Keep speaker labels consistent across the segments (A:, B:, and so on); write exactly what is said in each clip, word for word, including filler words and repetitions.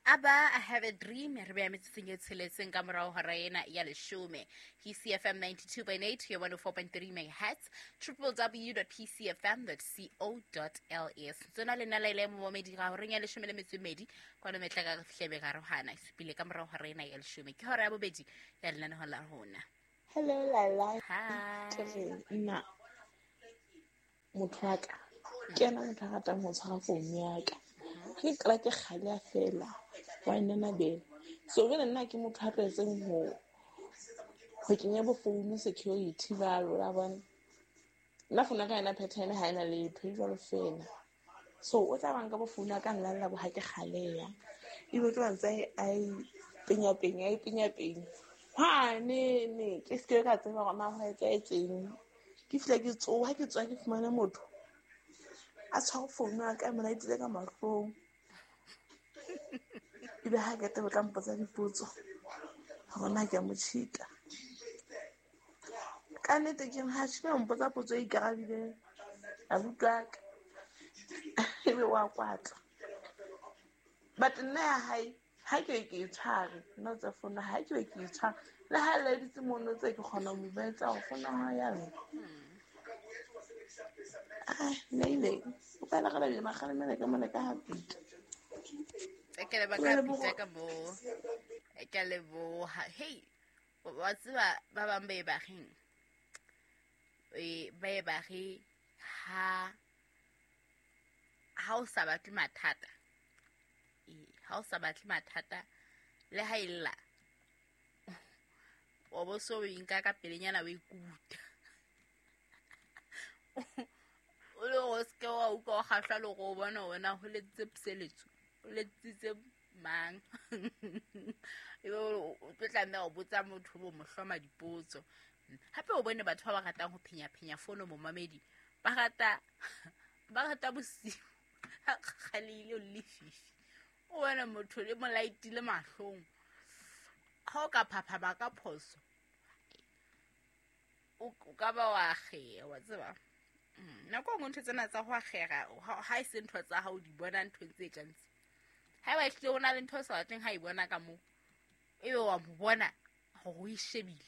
A: Aba I have a dream re beya metsotsong e tsheletseng ka morao hora ena ya leshome. P C F M ninety-two point eight ya one oh four point three megahertz, w w w dot p c f m dot co dot l s. Tsona le nna le momedi ga horeng ya leshome le metso e mmedi kwano metla ka re fihlebe ka rohana e supile ka morao hora ena ya leshome. Ke hora ya bobedi ya lenaneo la rona.
B: Hello Lala.
A: Hi.
B: Nna motho wa ka ke ena motho a ratang ho tshwara founu ya ka. Ke qala ke kgale fela wa nna bele. So jwale nna ke motho a tlwaetseng ho ho kenya bo phone security ba lona bona. Nna founu ya ka ena pattern ha ena letho e jwalo fela. So o tla banka bo phone ya ka nlalla bo ha ke kgaleya. Ebe tlo ntse a penya penya a penya penya. Ha ne ne ke se ka tseba hore na ho etsahetseng. Ke fihla ke tsoha ke tswa ke fumana motho a tshwara founu ya ka mona itse ka mahlong. Ebe ha ke tla mpotsa dipotso hore na ke a mo cheat-a. Ka nnete ke ha she mpotsa potso e ikarabile abuti wa ka. Ebe wa kwatla. But nna ya hae ha ke ke e tshware nna tsa founu ha ke ke e tshware le ha le ditse mono tse ke kgona ho mo betsa ho founa ha ya nna. Ah, neile o ka la le makgalemela ka mona ka ha pita.
A: Ke le baka pita ka mo. Ke le bo hey wa tseba ba bang ba e ba reng. E ba e ba re ha ha o sa batle mathata. E ha o sa batle mathata le ha illa. O bo so o inka ka pelenyana o ikuta. O le o se wa utlwa o kgahlwa le go bona wena ho letsitse puseletso o letsitse mang. Ebe o tlo tlameha ho botsa motho bo mo hloma dipotso. Hape o bone batho ba ba ratang ho phenya phenya fono momamedi ba rata ba rata bosiu ha kgalile o lefifi. O bona motho le mo laitile mahlong ha o ka phaphama ka phoso o ka ba wa akgeha wa tseba. Nako e nngwe ntho tsena tsa ho akgera ha e se ntho tsa hao di bona nthong tse kang tse. Haeba ehlile o na le ntho o sa batleng ha e bona ka moo, ebe wa mo bona hore o e shebile.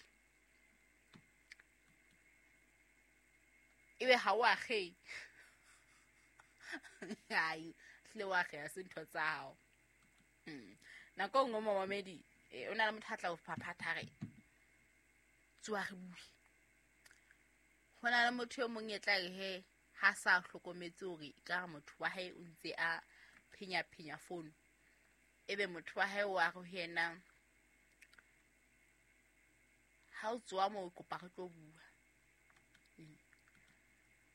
A: Ebe ha o akgehe. Hai, ehlile o akgeha se ntho tsa hao. Nako e nngwe momamedi o na le motho a tla o phaphatha re tsoha re bue. Ho na le motho e mong e tla re he ha sa hlokometse hore ka motho wa hae o ntse a phenya phenya founu. Ebe motho wa hae wa re ho yena ha o tsoha moo kopa re tlo bua.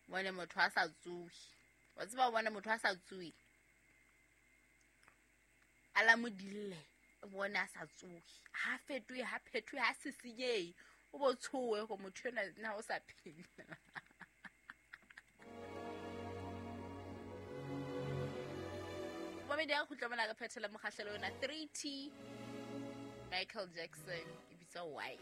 A: Bone motho a sa tsohe. Wa tseba bona motho a sa tsohe. A la modille bone a sa tsohe. Ha fetohe ha phethohe ha sisinyehe. O bo tshohe go motho ena na o sa phela. Momedi ya khutla mona re phethela mokgahlelo ona three T Michael Jackson e bitsa Why.